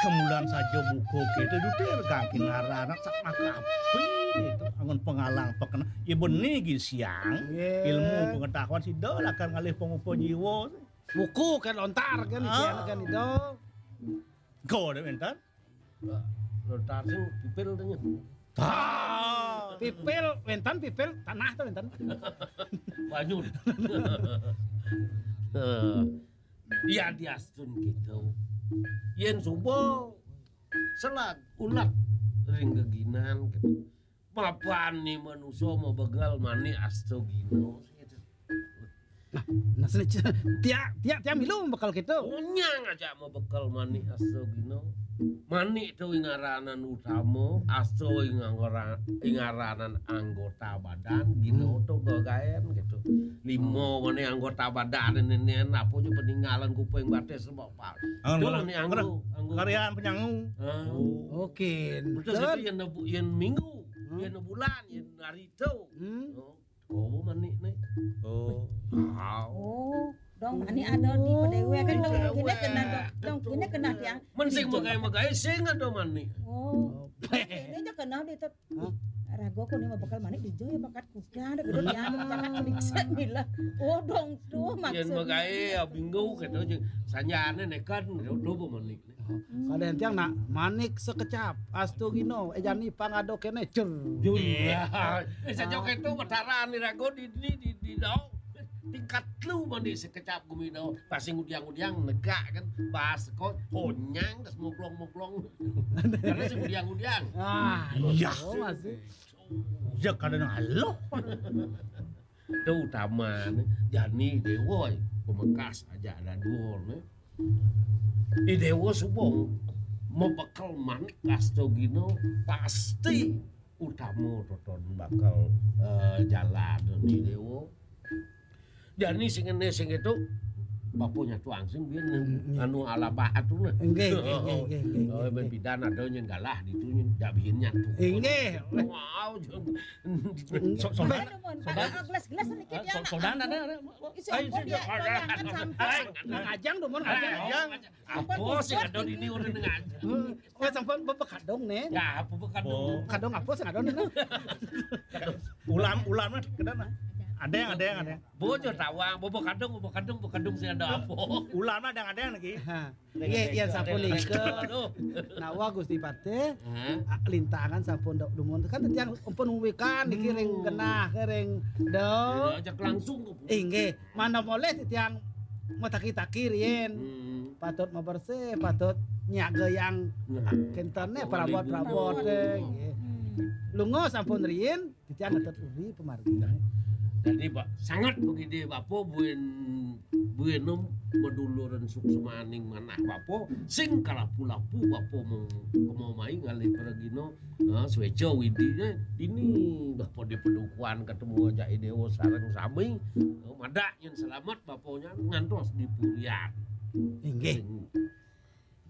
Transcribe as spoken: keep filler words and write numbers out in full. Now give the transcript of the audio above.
Kemulan saja buku kita itu dirgangkin ngaranan sak makapi itu anggon pengalang pekena. Ya beni gin siang, ilmu pengetahuan sida lakar ngalih pangupa jiwa. Buku kan lontar kan, ah, isian kan itu. Kau ada mentan? Lontar sing pipil tanya. Ah. Pipil, wénten pipil tanah to wénten. Banyu. Iya diastun gitu. Yén suba selag ulat ring geginan gitu. Mapani manusa mabegal mani asta gina gitu. Nah, nah sini tiak tiak tiak milu bekel gitu. Onyang aja mabekel mani asta gina. Mani to ingaranan utama, asta ingara- ingaranan anggota badan, gina to gagaén gitu. Lima mani anggota badan nenen apa aja peninggalan kuping batis sebab apa. Angon Tuh, mani anggo, anggo. Karyan penyangu. Ah. Oke. Betul itu yang nebu- yang minggu, yang bulan, yang hari itu. Hmm. Oh. Oh, mani né. Oh. Oh, dong mani ada di Padéwé kan dong gini kena dong, dong gini kena tiang. Men sing megai-megai sing ada mani. Oh. Ini aja kena di tet. Rago ko ni mah bakal mani di jo ya bakat kuda ada gede tiang bakat kuda bisa mila. Oh, dong tuh maksudnya. Yén megai ya bingung gitu aja. Sanjane nekan do mani. Kadén tiang nak manik sekecap, astugino, éjani pangado kéné, cer. Jul. Iya. Eh, saja kéto mataran di rago di di di di dong. Tingkat lu mandi sekecap gumi dong. Pas sing udiang-udiang negak kan, bahas kok honyang terus muglong-muglong. Karena sing udiang-udiang. Ah, iya. Oh, masih. Ya kadén aloh. Itu utama né. Jani Déwa pemekas aja ada dua né. I Déwa suba mabekel manik astagina pasti utama toton bakal eh, jalan ni Déwa. Jani sing ngene sing itu bapa nyatu angsing biyen anu alabah atu nah. Nggih, nggih, nggih, nggih, nggih, Oh, nggih. Ben pidan ada nyén galah ditu nyén jak biyen nyatu. Nggih. Wow, jeng- so- so- Ayo, Mon, ada gelas-gelas sedikit ya. So- Sodan ada. Isi Ayo, ampun sini. Ya, goyangan sampai. Ngajang dong, Mon, ngajang. Ngajang. Apa sih ada di diur ngajang? Oh, sampun bapa kadung né. Ya, apa kadung? Oh. Kadung apa sing ada né? Ulam, ulam lah, kadang lah. Ada yang, ada yang, ada yang. Bojo tawang, bapa kadung, bapa kadung, bapa kadung sing ada apa? Ulam ada yang, ada yang lagi. Ha. Iya, iya sampun lingke. Aduh. Nawa Gusti Patih, Hah? ah, lintangan sampun dok dumun. Kan tiang ampun wikan niki ring genah, ring do. Ya, ajak langsung. Inggih, mana boleh tiang mataki-taki riyen. Hmm. Patut mabersih, patut nyaga yang Nah. Kénten né Apa perabot-perabot, wali eh, nggih. Hmm. Lunga sampun riyin, titiang ngetut uri pemargi. Nah. Jadi, Pak, sangat begini, Bapak buin, buin em, meduluran suksemaning manah Bapak, sing kalapu-lapu Bapak mau, mau mai ngalih pergino, nah, sweca widine, ini Bapak di pedukuhan ketemu aja Déwa sareng sami, nah, madak nyén selamat Bapaknya ngantos di purian. Inggih. Sing